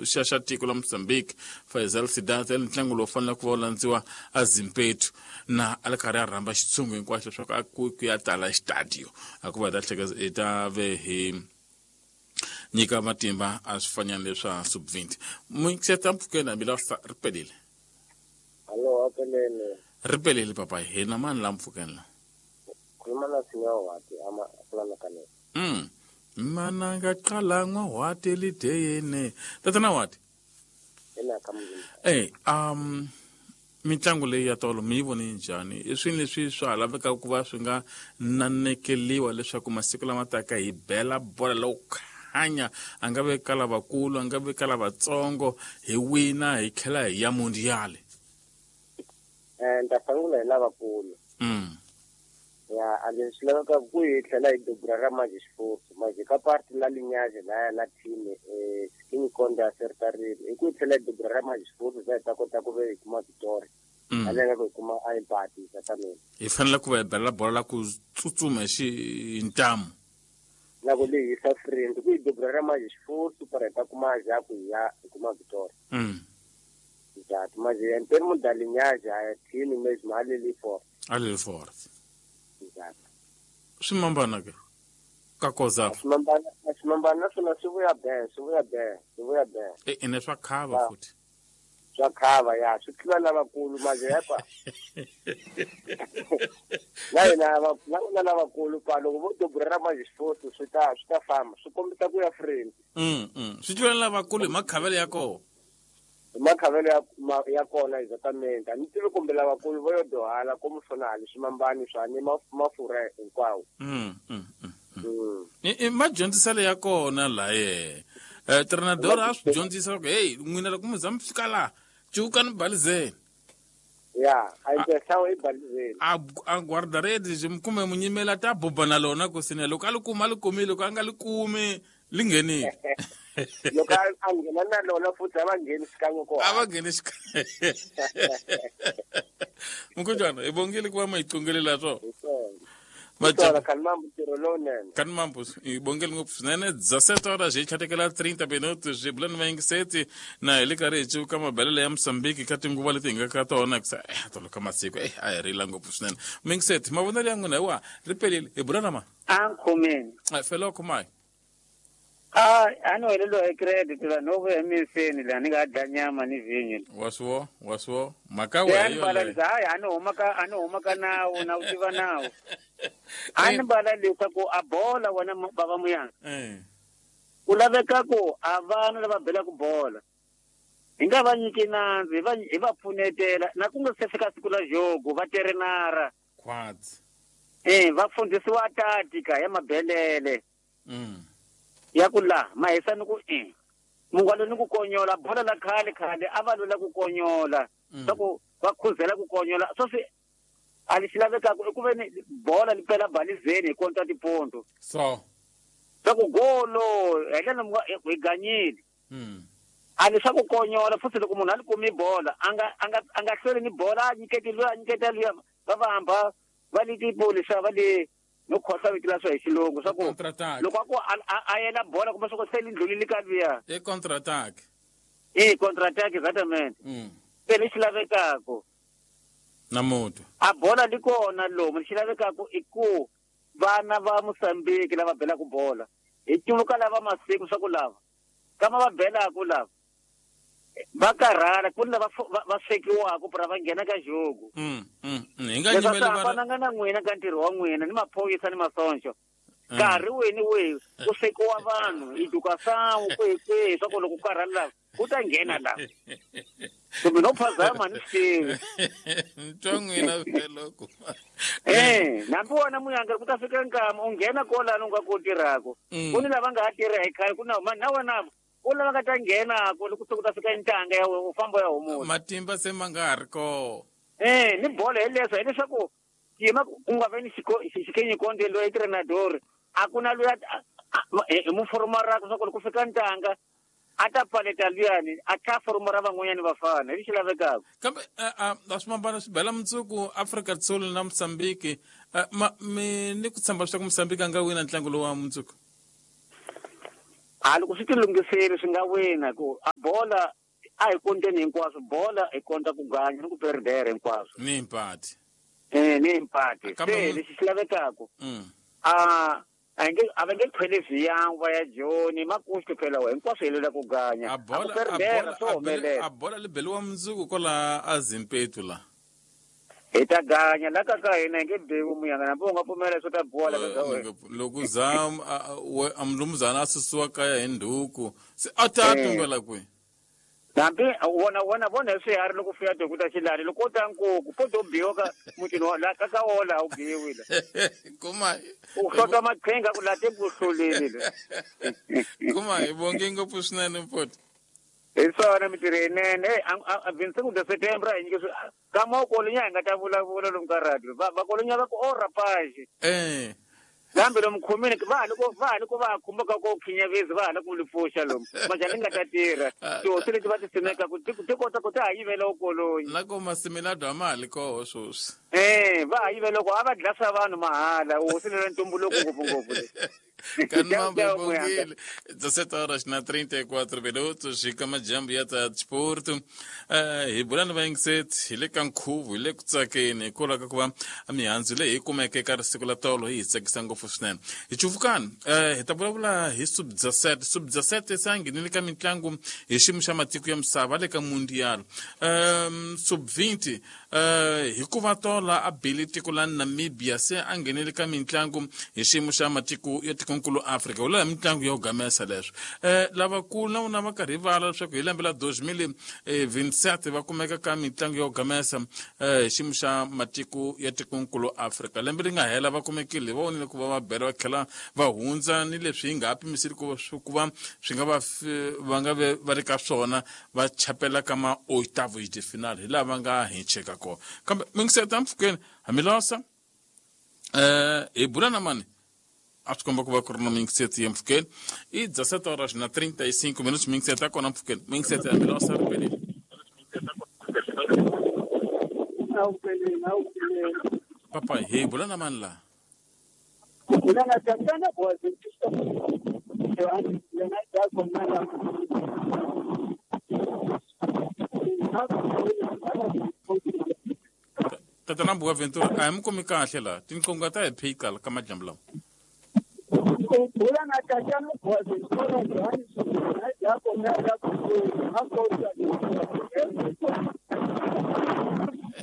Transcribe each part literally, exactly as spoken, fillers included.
xa xa tiko la Mozambique Faisal Sidat el ntlangu lowu fanele ku va wu landziwa a Zimpetu na a le karhi a rhamba xitshungu hinkwaxo leswaku a ku ku ya tala xitadiyo a ku va hi ta hleketa hi ta ve hi nyika matimba a swifanyana leswa sub twenty mixeta mpfukeni hambi la ri pelile. Hallo, apelele. Ri pelile papa hina mani la mpfukeni la khuluma na Sinawati ama kulana kanene. Mm. Mana nga qala n'wahwati lideyene. Tatana Wati. Ina ka muzimba. Eh, um mitlangu leyi ya tolo mi yi vone njhani? I swilo leswi swa ha lavekaka ku va swi nga nanekeliwa leswaku masiku lama taka hi bela bola lowu khanya a nga ve ka lavakulu a nga ve ka lavatsongo hi wina hi tlhela hi ya mundial. Eh, nta sungula hi lavakulu. Mm. Ya, a leswi lavekaka ku hi tlhela hi dubura ra manje xifufu manje ka parti la linyazi laya la team eh skinny konda sertarile hi ku hi tlhela hi dubura ra manje xifufu za hi ta kota ku ve hi kuma victory. Mm. Aleka ku hi kuma a empati satameni. Hi fanele ku va hi bela bola la ku tsutsuma xi hi ntamu. Na ku lehisa friend ku hi dubura ra manje xifufu para hi ta kuma ja ku hi ya hi kuma victory. Mm. Exact manje en termo da linyazi a team mesmo a leli for. A leli for. Exact. Swi mambana ke ka koza. Swi mambana, swi mambana naswona swi vuya be, swi vuya be, swi vuya be. E ene swa khava Ya. futhi. Swa khava ya, swi tlula lavakulu manje yepa. Na hina va na na lavakulu pa loko vo dubura ra manje xifufu swi ta swi ta famba, swi kombisa ku ya friend. Mm, mm. Swi tlula lavakulu hi makhavelo ya kona. Hi makhavelo ya ma, ya kona exactamente. A ni tivi kumbe lavakulu vo yo dohala ku musonali swimambani swa ni maf-, mafurha hinkwawo. Mm, mm, mm, mm. Mm. I, i madyondziselo ya kona laye. Eh, Trenador a swi dyondzisa ku hey n'wina loko mi za mi fika laha cukani balizeni. Ya, a yi hlawu i balizeni. A, a guardaredi kumbe munyimela ta buba na lona ku sine loko a li kuma a li kumile loko a nga li kumi li nghenile. Loko a, a nghena na lona futhi a va ngheni xikan'we kona. A va ngheni xikan'we. Mukhuhlwana, hi bongile ku va mi hi qongelela swona. Hi swona. Maja- Hi swona, Khanimambu, ntirho lowunene. Khanimambu, hi bongile ngopfu swinene. Dezessete horas hi tlhatekela trinta minutos hi bula ni vayingiseti na hi le karhi hi civuka mabelele ya Mozambique ka tinguva leti hi nga ka tona hikusa eh tolo ka masiku eh a hi rila ngopfu swinene. Muyingiseti, mavonelo ya n'wina hi wa ri pelile hi bula na ma? A ni khomeni. Eh, felo khomayi. A, a ni heleriwa hi credit la no vuya emiseni la ni nga dya nyama ni vhinyo. Wa swi vo, wa swi vo. Mhaka Se a wehe ni yoleyo. balanisa, hayi, a ni huma ka, a ni huma ka nawu, na wu tiva nawu. A ni bala leswaku a bola wena mu-, bava muyanga. Eh. Ku laveka ku a vana lava belaka bola. Hi nga va nyiki nandzu, hi va, hi va pfunetela. Na ku nga se fika siku la jogo, va terenara. Khwatsi. Eh, va fundhisiwa tatika ya mabelele. Mm. Ya ku la, mahisa ni ku e. Mungwalo ni ku konyola, bola la khale khale, a va lwela ku konyola. Mm. Swa ku va khuzela ku konyola. Swo swi, a li xi lavekaka i ku ve ni bola li pela balizeni hi konta tiponto. So. Swa ku golo, hi ndlela munga, hi ganyile. Mm. A li swa ku konyola, futhi loko munhu a li kumi bola, a nga, a nga, a nga hlweli ni bola, a nyiketi luya, a nyiketa luya, va va hamba, va li tipoli swa, va li no khohlwa vito la swa hi xilungu, swa ku Contrattack. loko a ku a, a, a yela bola kumbe swa ku se li ndlulile ka luya. I contrattack. I contrattack exactamente. Mm. Se lexi lavekaka. Na mutu. A bola li kona lomu, lexi lavekaka i ku vana va Mozambique lava belaka bola. Hi cuvuka lava masiku swa ku lava. Kama va belaka lava. Va karhala, ku ni lava fo-, va, va swekiwaka pra va nghena ka jogo. Mm, mm, mm. Hi nga Leswi nyimeli swi va- hambananga na n'wina ka ntirho wa n'wina, ni maphorisa ni masoncho. Mm. Nkarhi wihi ni wihi ku swekiwa vanhu, hi duka sangu kwihi kwihi, swa ku loko ku karhala lava, ku ta nghena lava. Kumbe no phazama ni swi tivi. Ntwa n'wina vhele ku. Eh, nambi wona muyanga ku ta fika nkama u nghena kwalano u nga ku tirhaka. Mm. Ku ni lava nga ha tirha hi khale, ku na ma-, na wena ku lava nga ta nghena ku loko se ku ta fika ntanga ya wena, u famba u ya humula. Matimba se ma nga ha ri kona. Eh, ni bolo hi leswo, hileswaku yima ku nga ve ni xiko-, xi-, xikenyikonde loyi trenador, a ku na loyi a, a, a, hi muforomara ku swa ku loko ku fika ntanga, a ta paleta luyani, a tlha foromara van'wanyani vafana, hi lexi lavekaka. Kambe, eh, eh, a swi mambana swi bela mundzuku Afrika Dzonga na Mozambique, eh, ma, mi ni ku tshemba leswaku Mozambique a nga wina ntlangu lowu wa mundzuku? A loko swi ti lunghisile swi nga wina ku a bola a hi konteni hinkwaswo bola hi konta ku ganya ni ku perdere hinkwaswo ni mpati eh ni mpati Kambe se mu- lexi xi lavekaka mm. a a nge a va nge khwele viyangwa ya joni makuxi phela wa hinkwaswo hi lwela ku ganya a a ku bola a perdera bola swo a bele- humelela a bola li beliwa mundzuku kwala a Zimpetu la hi ta ganya la ka ka hina hi nge biwi muyanga nambi u nga pfumela swo ta biwa la ka ka wena loko za a mlumuzana a susiwa kaya hi ndhuku se a ta Eh. tumbela kwihi hambi wona wona vona hi swiharhi loko fuya tihuku ta xilani loko u ta nkuku po to biwa ka mutini wa la ka ka wona laha u biwi la kuma u hlota maqhinga ku la te ku hluleni le kuma hi vonge ngopfu swinene mfoti hi swona mintirho yinene hey vingt-cinq de septembre a hi nyike swi ka mokolonya hi nga ta vulavula lomu ka radio va vakolonya va ku o rapage eh kambe lomu khomini va ha loko va ha loko va ha khumbaka ko khinyavezi va ha la ku li pfuxa lomu majani nga ta tirha tihosi leti va ti simekaku ti ti kota ku ta ha yivela ukolonyi na ko masimilado a ma ha li koho sweswi Eh, va ha yivela ku a va dlasa vanhu mahala hosi lera ntumbuluko ngopfungopfu le Kanmambo Tchau, tchau, Muyanga. Bongile, dezassete horas na trinta e quatro minutos hi ka majambu ya ta disporto. Uh, hi bula ni vayingiseti hi le ka nkhuvo hi le ku tsakeni hikwalaho ka ku va mihandzu leyi hi kumeke eka risiku la tolo yi hi tsakisa ngopfu swinene hi cuvukani uh, hi ta vulavula hi sub dezessete sub dezessete se a nghenile ka mitlangu hi xiyimo xa matiko ya misava le ka mundial um, sub vinte uh, hikuva tola a bile tiko la Namibia se a nghenele ka mitlangu hi xiyimo xa matiko ya tikonkulu Afrika wula mitlangu ya ku gamesa leswo eh lavakulu na vona va karhi vala leswaku hi lembe la dois mil e vinte e sete va kumeka ka mitlangu ya ku gamesa eh hi xiyimo xa matiko ya tikonkulu Afrika lembe ri nga hela va kumekile va vonile ku va va bela va tlhela va hundza ni leswi hi nga ha pimiseli ku va ku va swi nga va fi- va nga ve va ri ka swona va chapela ka ma oitavos de final hi laha va nga hincheka kona kambe mingiseta mpfhukeni hamilosa eh hi bula na mani a swi komba ku va ku ri na mingiseti ya mpfhukeni i dezassete horas na trinta e cinco minutos mingiseti ya kona mpfhukeni mingiseti ya milosa ri pelile Awupheleni, awupheleni. papa hi bula na mani laha Mina ngathathana Boaventura Johannes lena yakho nala. Tatana Boaventura a hi mi kumi kahle laha tinqonga ta hi phiqa ka madyambu lawa Ubula na tatana Boaventura Johannes lena yakho nala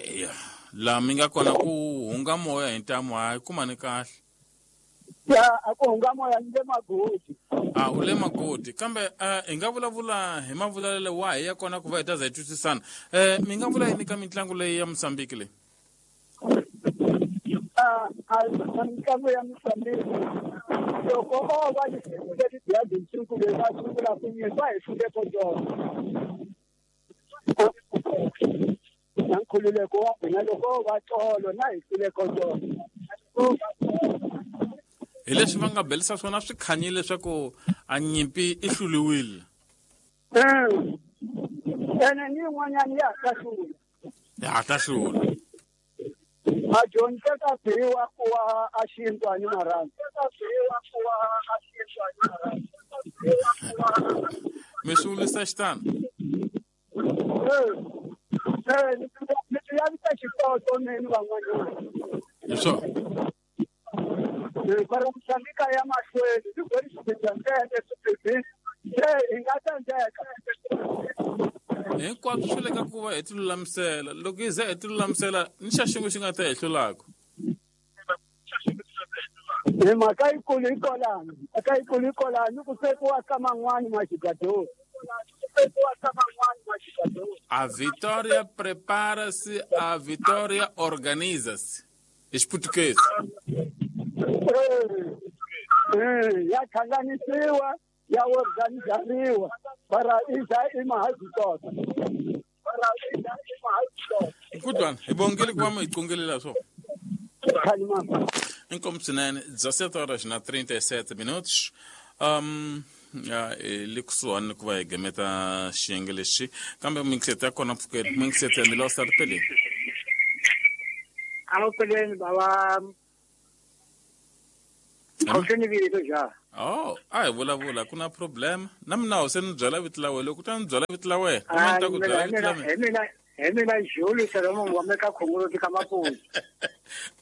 Eya, laha mi nga kona ku hunga moya hi ntamu hayi kumani kahle Ya akuhunga moya ni le magodi. A u le makoti kambe uh, hi nga vulavula hi mavulavulelo wahi ya kona ku va hi ta za hi twisisana um mi nga vula yini ka mitlangu leyi ya Mozambique leyi Ah, a mitlangu ya Mozambique loko o va leti bya tinsiku leyi va sungula ku nyisa hi hlule ko tona na nkhululeko wa hina loko va tolo na hi hlule ko tona hi leswi va nga belisa swona swi khanyile leswaku a nyimpi i hluliwile ene ni yin'wanyana ya ha ta hlula ya ha ta hlula a dyondzeka biwa ku wa a xintwani marhandzu mi swi vulisa xitano mi swi lavisa xitoto meni van'wanyana hi swona para Mozambique ya mahlweni ni gori xibedhlele swibedhlele se hi nga tsandzeka hinkwaswo swi le ka ku va hi ti lulamisela loko hi za hi ti lulamisela ni xa xin'we xi nga ta hi hlulaka hi mhaka yikulu yi kolani mhaka yikulu yi kolani ku swekiwa ka man'wani maxigadoni A vitória prepara-se, a vitória organiza-se. Hi xiputukezi ya hlanganisiwa ya organizariwa para i za i mahazitota nkutwana hi bongile ku va mi hi qongelela swona khalimama inkomu swinene dezassete horas na trinta e sete minutos um ya hi le kusuhani ni ku va hi gameta xiyenge lexi kambe mingiseti ya kona mpfhukeni mingiseti ya milosa ri peleni Awupheleni baba Khohleni vito ja. Oh, a hi vulavula ku na problem. Na mina se ni byela vito la wena loko ta ni byela vito la wena. Mina ta ku byela vito la mina. Hi mina hi mina Jules Solomon wa meka Khongoloti ka Maputo.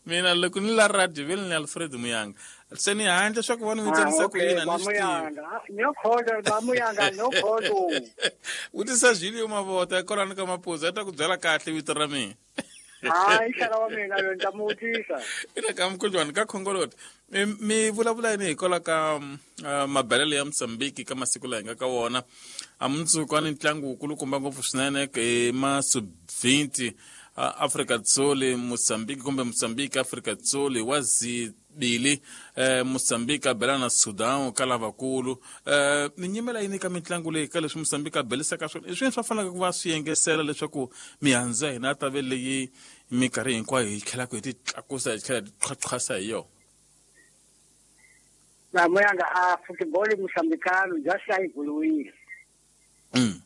Mina loko ni la radio vele ni Alfred Muyanga. Se ni handle swa ku vona mi tsanisa ku yini ni swi tivi. No khoda ba Muyanga no khodo. Vutisa Julio Mavota kwalano ka Maputo a ta ku byela kahle vito ra mina. Hayi xana wa mina lo nta mu vutisa. Ina ka mkhulwana ka Khongoloti. Mi vulavula yini hikwalaho ka mabelelo ya Mozambique ka masiku laha hi nga ka wona. A mundzuku a ni ntlangu wukulukumba ngopfu swinene hi ma sub twenty Afrika Dzonga Mozambique kumbe Mozambique Afrika Dzonga wa zibili eh Mozambique a bela na Sudan ka lavakulu. Eh mi nyimela yini ka mitlangu leyi ka leswi Mozambique a belisaka swona i swini swa faneleke ku va swi yengesela leswaku mihandzu ya hina ta ve leyi minkarhi hinkwayo hi tlhelaka hi ti tlakusa hi tlhela hi qhaqhasa hi yona. Na Muyanga a football mozambicano just a evoluile. Mm.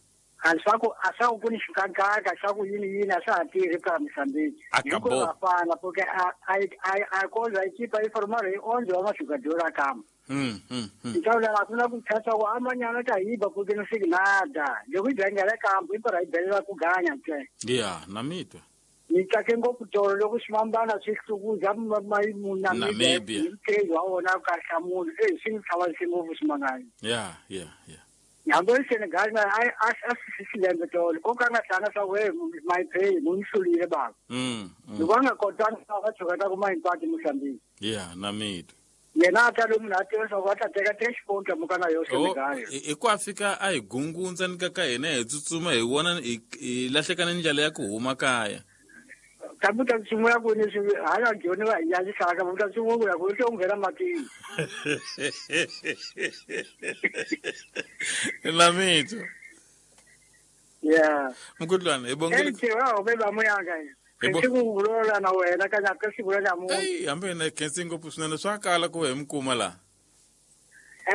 A swa ku a swa ku ni xikakaka xa ku yini yini a swa ha tirhi ka Mozambique. Acabou. Hikuva porque a a a a koza equipa yi formala hi onze wa majogador a kama. Mm mm. Então la kuna ku thatha ku amanyana ta yiba porque não sei nada. Loko yi dlangela kampo i para yi belela ku ganya ntsena. Yeah, na mitwa. Ni tsake ngopfu tolo loko swimambana swi hlukuza Namibia. Hi wa wona ka hlamula eh swi ni tlhavanise ngopfu swimangani. Yeah, yeah, yeah. Hambi Senegal na a a a swi tolo ko ka nga tlanga swa we my pay mo ni hlulile baba. Mm. Loko a nga kotanga va tshoka ta ku ma hinkwato Mozambique. Yeah, na mitwa. Yena a ta lomu na tiva swa ku va ta teka three points muka na yo Senegal. I ku a fika a hi gungundza ni ka ka hina hi tsutsuma hi vona hi lahleka ni ndlela ya ku huma kaya. Kambe ta sungula ku ni swi hala joni va hi yalisaka va ta sungula ku ku nghena matini. La mitwa. Yeah. Mkhulwana hi bongile. Ntse wa be ba Muyanga. Ke ku vulavula na wena ka ka siku la namuntlha. Ey, hambi na khensi ngopfu swinene swa kala ku hi mi kuma la.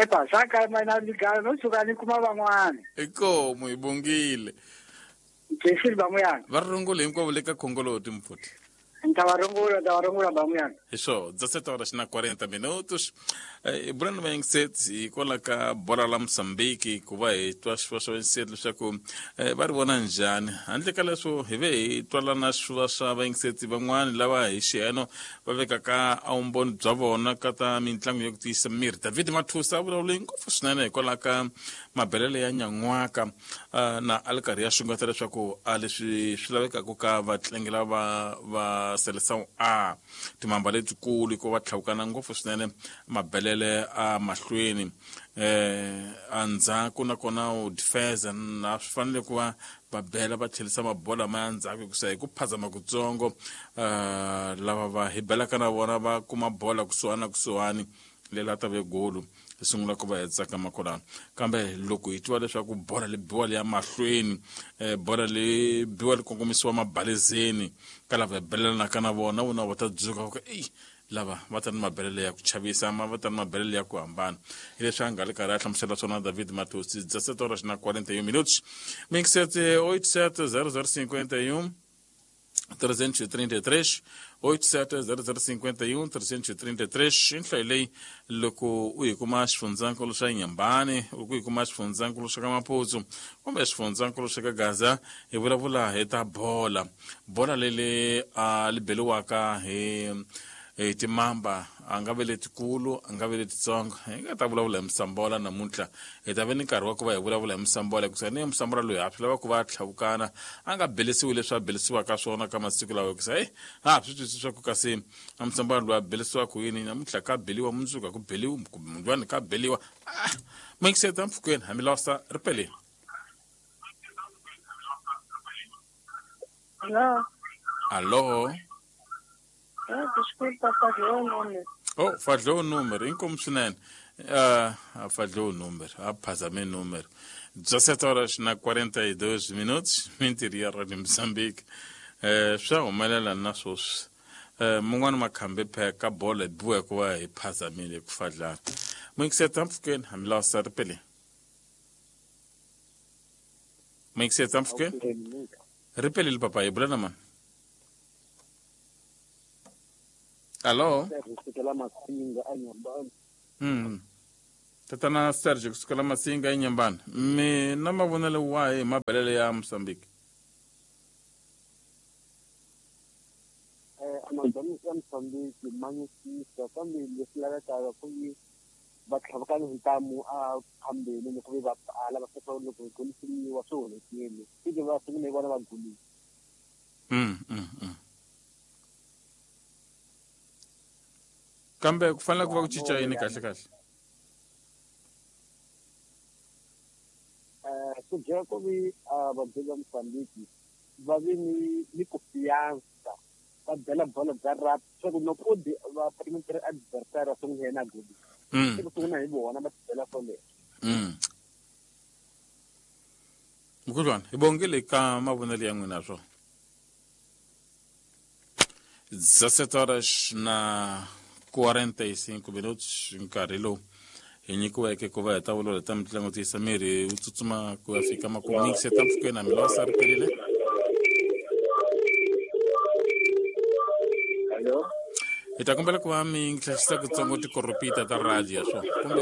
Epa, swa kala mina ni gala no suka ni kuma van'wana. Inkomu hi bongile. Khensi ba Muyanga. Va rungula hinkwavo le ka Khongoloti mfuti. Nta va rungula, nta va rungula ba Muyanga. Hi swo, dezessete horas na quarenta minutos. Eh Brand Mindset hikwalaho ka bola la Mozambique ku va hi twa swiva swa Mindset leswaku va ri vona njhani. Handle ka leswo hi ve hi twala na swiva swa Mindset van'wani lava hi xiheno va vekaka a vumbhoni bya vona ka ta mitlangu ya ku tiyisa miri. David Mathusa a vulavule ngopfu swinene hikwalaho ka mabelelo ya nyan'waka na a li karhi ya xungeta leswaku a leswi swi lavekaka ka vatlangi lava va Seleção A timamba letikulu hikuva va tlhawukana ngopfu swinene mabelele a mahlweni eh andzhaku nakona u defense na swi fanele ku va va bela va tlhelisa mabola ma ya ndzhaku hikusa hi ku phazama kutsongo eh lava va hi belaka na vona va kuma bola kusuhani na kusuhani lela ta ve golu hi sungula ku va hi tsaka makolana. Kambe loko hi twa leswaku bola li biwa li ya mahlweni eh bola li biwa li kongomisiwa mabalezeni ka lava hi belelanaka na vona vona va ta dzuka ku ey lava va ta ni mabelelo ya ku chavisa ma va ta ni mabelelo ya ku hambana. Hi leswi a nga le karhi a hlamusela swona David Mathusi. dezessete horas na quarenta e um minutos. Cinco oito sete zero zero cinquenta e um trezentos e trinta e três oito sete zero zero cinquenta e um trezentos e trinta e três. Inhla leyi loko u yi kuma xifundzankulu xa Nyambani, loko u yi kuma xifundzankulu xa ka Maputo kumbe xifundzankulu xa ka Gaza, hi vulavula hi ta bola. Bola leli a li beliwaka hi hi timamba a nga ve letikulu a nga ve letitsongo. Hi nga ta vulavula hi Musambola namuntlha. Hi ta ve ni nkarhi wa ku va hi vulavula hi Musambola hikusa ni Musambola loyi a swi lava ku va a tlhavukana a nga belisiwi leswi a belisiwaka swona ka masiku lawa hikusa eyi ha swi twisisi swa ku kasi a Musambola loyi a belisiwaka yini namuntlha ka beliwa mundzuku a ku beliwi mundlwani ka beliwa. Ah, mingiseta mpfhukeni hambi losa ri peleni. Alô? Alô? Ah, desculpa, falhou o número. Oh, falhou o número. Inkomu swinene. Ah, falhou o número. Ah, phazame número. dezessete horas na quarenta e dois minutos. Mentiria Rádio Moçambique. Eh, swa humelela na sweswi. Eh, mun'wana makhambi pheka bola biwa ku va hi phazamile ku fadlana. Mingiseta mpfhukeni hambi lawa sa ri peleni. Mingiseta mpfhukeni. Ri pelile papa hi bula na mani. Alô? Mm. Tatana Sergio kusukela Masinga eNyambani. Mina mavonelo wahi hi mabelele ya Mozambique? Eh amagama ya Mozambique manyisisa kambe leswi lavekaka ku yi va tlhavukana hi ntamu a phambeni loko ve va pfala va fika loko golisiwa swi onhekile fike va sungule vona va golile. Mm mm mm. Kambe ku fanele ku va ku cinca yini kahle kahle? Eh ku byela ku vi vabyeli va Mozambique va vi ni ni confianza va byela bolo bya rugby swa ku loko va perimeter adversaire va sungula yena goli. Mm. Ku sungula hi vona va byela swoleswo. Mm. Mkhulwana, hi bongile ka mavonelo ya n'wina swo. dezessete horas na quarenta e cinco minutos nkarhi lowu hi nyikiweke ku va hi ta vulavula ta mitlangu tiyisa miri wu tsutsuma ku ya fika makumu se ta mpfhukeni na milosa ri perile. Hello. Hi ta kombela ku va mi hlasisa kutsongo tikoropita ta radio swo kumbe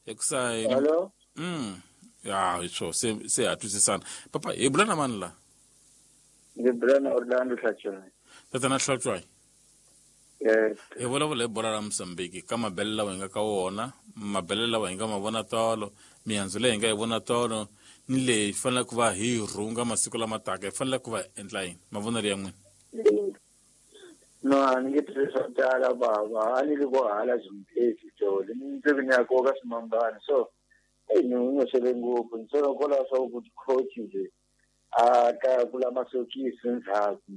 hikusa hi Hello. mm ya hi swo se se ha twisisana. Papa hi bula na mani la? Ndzi bula na Orlando Hlatswayi. Tatana Hlatswayi. Yes. Hi vulavula hi bola ra Mozambique ka mabele lawa hi nga ka wona, mabele lawa hi nga ma vona tolo, mihandzu leyi hi nga yi vona tolo, ni leyi hi faneleke ku va hi rhunga masiku lama taka, hi faneleke ku va hi endla yini? Mavonelo ya n'wina. No, a ni nge tirhisi swo tala bava, a ni ri ko hala Zimbabwe tolo, ni ndzi ni ya koka swimambana so eyi ni n'wi ngopfu ni sola kwalaho swa ku coach nje a ta kula masokisi ndzhaku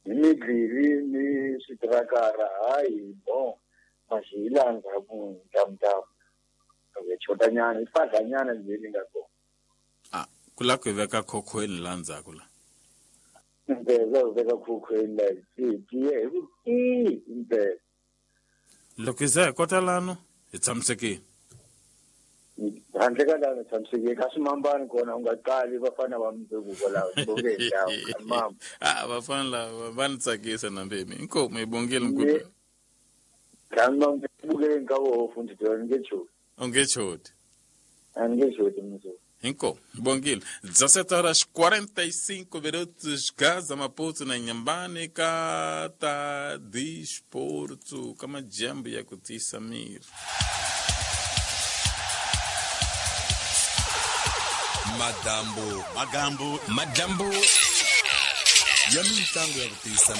hi midlili ni switirakara hayi bon masi hi laha ndzhaku ntamutamu hi chotanyana hi fadlanyana nje ni nga kona. Ah, ku lava ku hi veka khokhweni laha ndzhaku la. Impela ku veka khokhweni la hi tiye hi ku tii impela. Loko hi za hi kota lano hi tshamisekile. Handle ka lano tshamisekile ka swimambani kona u nga qali vafana va mundzuku kwalaho bonge hi ndhawu mama. Ah, vafana lava va ni tsakisa na mbemi. Inkomu hi bongile mkhulu. Tshama bukeleni ka voho fundi ni nge choti. U nge choti. A ni nge choti mundzuku. Inkomu hi bongile. dezessete horas quarenta e cinco minutos Gaza Maputo na Inhambane ka ta desporto ka majambo ya ku tiyisa miri. Madambo Magambo Madambo ya mitlangu ya ku tiyisa